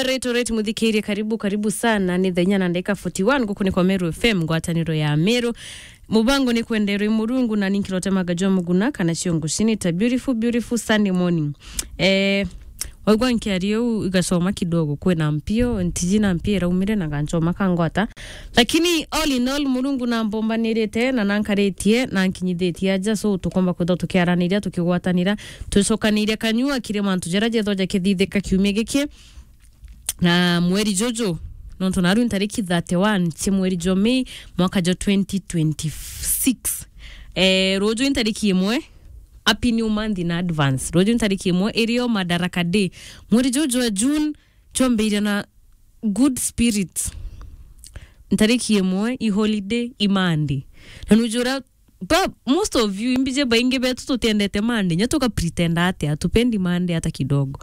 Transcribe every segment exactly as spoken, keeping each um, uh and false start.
Alright, alright, muthikirie, karibu, karibu sana. Ni thaa inya na ndagika forty-one, guku ni kwa Meru F M, ngwataniro ya Meru. Mubango ni kwenderwe Murungu, na ninkirotemaga jwa muguna kana ciongo cini ta beautiful, beautiful Sunday morning. Eh, waigua nkiaria uu, igacoma kidogo, kwina mpio, ntiji na mpio iraumire na gancoma kangwata. Lakini all in all, Murungu nambombanirite na nankaritie na nkinyithitie aja, so tukomba kwithwa tukiaraniria, tukigwatanira, twicokaniria kanyua kiri mantu jaria jetho jakithithika kiumia giki. Na mweri juju, nontu naru ntariki thirty-one cia mweri jwa Mei, mwaka jwa twenty twenty-six. Eh, ruju ntariki imwe, happy new month in advance. Ruju ntariki imwe irio Madaraka Day. Mweri juju wa June, chwambiria na good spirit. Ntariki imwe, i holiday, i Monday. Na nujura Ba, most of you, imbije baingi betu tutiendete Monday, nya tuka pretend atia, tupendi Monday hata kidogo.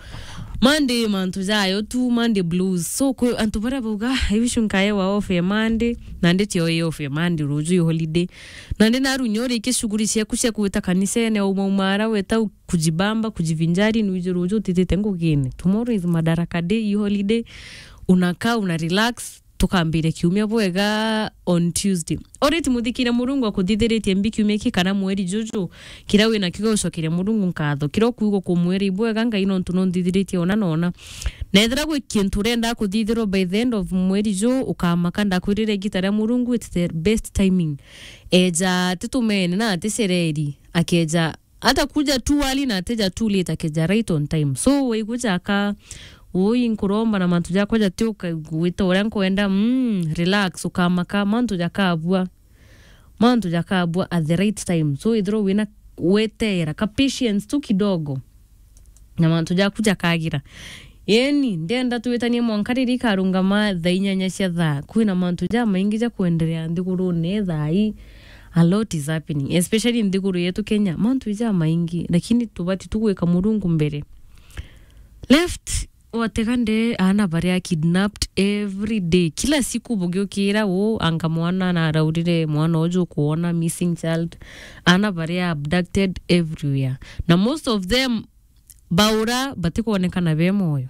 Monday mantu jayo tu, Monday blues. So, kwi antu baria bauga, "Ah, I wish nkaewa off ya Monday," nandi tio i off ya Monday, ruju i holiday. Nandi naru nya urikie shughuli ciaku cia kwita kanisene, umaumara, weta kujibamba, kujivinjari, nwije ruju utitite ngugine. Tomorrow is Madaraka Day, i holiday. Unakaa, una relax, tukambiria kiumia bwega on Tuesday. Alright, muthikire, Murungu akuthithiritie mbi kiumia ki kana mweri juju, kiria wina kio gucokeria Murungu nkatho, kiria ukuigua kumwira ibwega Ngai nontu nunthithiritie ona na ona. Na ethira gwi kintu urenda kuthithirwa by the end of mweri ju, ukamaka, ndakwirire igita ria Murungu, it's the best timing. Eja atitumene na aticereri, akeja atakuja too early na atija too late, akeja right on time. So, waigua jaka, ui, nkuromba na mantu jakwa jatiuka gwita uria nkwenda, mm, relax, ukamaka, mantu jakabua. Mantu jakabua at the right time. So, ithirwa wina weteera, ka patience tu kidogo, na mantu jaku jakagira. Yeni, ndenda twitanie mwanka riria ikarungama thaa inyanya cia thaa. Kwina mantu jamaingi ja kwenderea nthigurune thaa ii. A lot is happening, especially nthiguru yetu Kenya. Mantu jamaingi, lakini tubati tu gwika Murungu mbere. Left, watega nde, aana baria kidnapped every day. Kila siku bugiukira, u, anga mwana naraurire, mwana uju ukuona, missing child. Aana baria abducted everywhere. Na most of them, baura batikwonekana be moyo.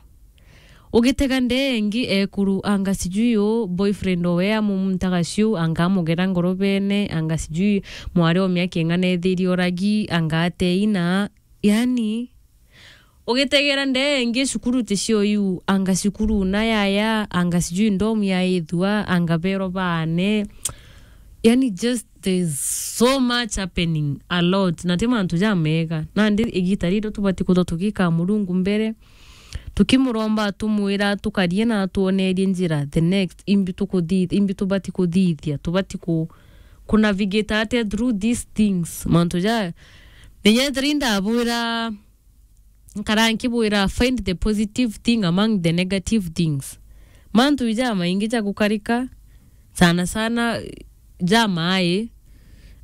Ugitega ndee ingi, ekuru, anga sijui u boyfriend owe amumuntaga ciu, anga amugera ngorobene, anga sijui mwari o miaka ing'ana ethirie uragi, anga ateina. Yani, ugitegera ndee ingi, cukuru ticio iu, anga cukuru na yaya, anga sijui ndomu ya ithua, anga bero baane. Yani, just, there's so much happening, a lot, na ti mantu jamega. Nandi igita riri tubati kuthwa tugikaa Murungu mbere, tukimuromba, tumwira tukarie na atwonerie njira, the next, imbi tukuthi-, imbi tubati kuthithia, tubati ku, ku navigate atia through these things. Mantu ja, menya ethira indabwira, nkara nkibwira, find the positive thing among the negative things. Mantu jamaingi ja gukarika, sana sana jamai,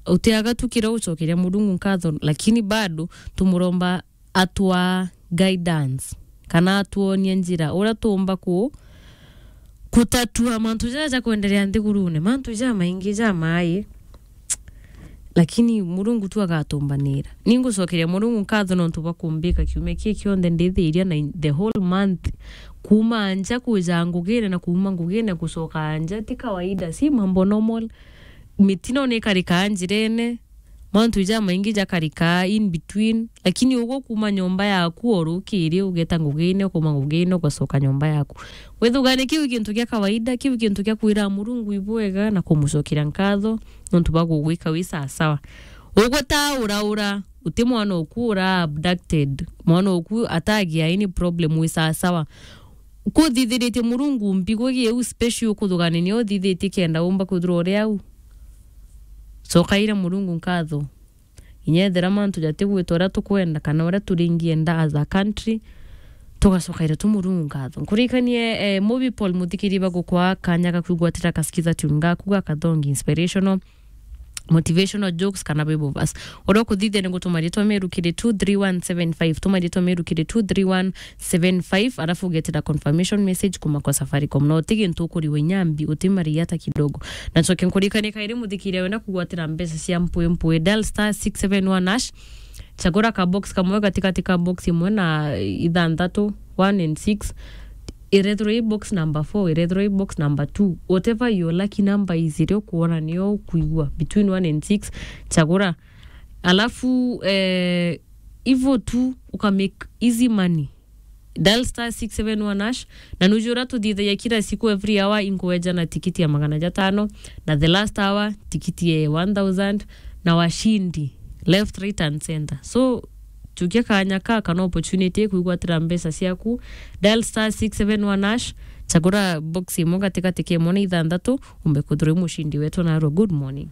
utiaga tu kiria ucokeria Murungu nkatho, lakini bado tumuromba atwa guidance, kana atwonie njira uria tuumba ku, kutatua mantu jaja ja kwenderea nthigurune. Mantu jamaingi jamai, lakini Murungu tu agatumbanira. Ningucokeria Murungu nkatho nontu bwa kumbika kiumia kii kionthe ndithiria na in-, the whole month, kuuma nja kuja ngugine na kuuma ngugine gucoka nja, ti kawaida, si mambo normal. Mitino nikarikaa njirene, mantu jamaingi jakarikaa in between, lakini uguo kuuma nyomba yaku o rukiri ugeta ngugine, ukauma ngugine ugacoka nyomba yaku. Withugane kiu kintu kia kawaida, kiu kintu kia kwira Murungu ibwega na kumucokeria nkatho nontu bwa gugwika wi sawasawa. Ugwe ta uraura, uti mwana oku ura abducted, mwana oku atagia any problem, wi sawasawa. Kuthithiritie Murungu mbi, gwi giu special ukuthugania nio uthithitie kenda umba kwithirwa uri au. Cokaira Murungu nkatho. Inya ethira mantu jatigwita uria tukwenda kana uria turingienda as a country, tugacokaira tu Murungu nkatho. Nkuririkanie, eh, Movie Paul, muthikiri bagukwa kanya ga kwigwatira kasikiza tune gaku ga kathongi inspirational, motivational jokes kana Bible verse. Uria ukuthithia ni gutuma ritwa Meru kiri two three one seven five, tuma ritwa Meru kiri two three one seven five, alafu ugetira confirmation message kuma kwa Safaricom. Na uti gintu ukuriwa inya mbi, uti mari hata kidogo. Na ncoke nkuririkanie kairi, muthikiria wenda kugwatira mbeca cia mpwi mpwi, dial star six seven one hash, chagura ka box kamwe gatigati ka box imwe na ithanthatu, one and six. Irethirwa i box number four, irethirwa i box number two, whatever your lucky number is, iria ukuona niyo ukuigua between one and six, chagura. Alafu eh, ivo tu uka make easy money. Dial star six seven one hash, na nuju uria tuthiithagia kila siku, every hour inkueja na tikiti ya magana jatano, na the last hour tikiti ya one thousand, na washindi left, right and center. So chukia kanya ka kana opportunity kwigwatira mbeca ciaku. Dial star six seven one hash, chagura box imwe gatigati ka imwe na ithanthatu, umbe kwithirwa wi mushindi wetu narua. Good morning.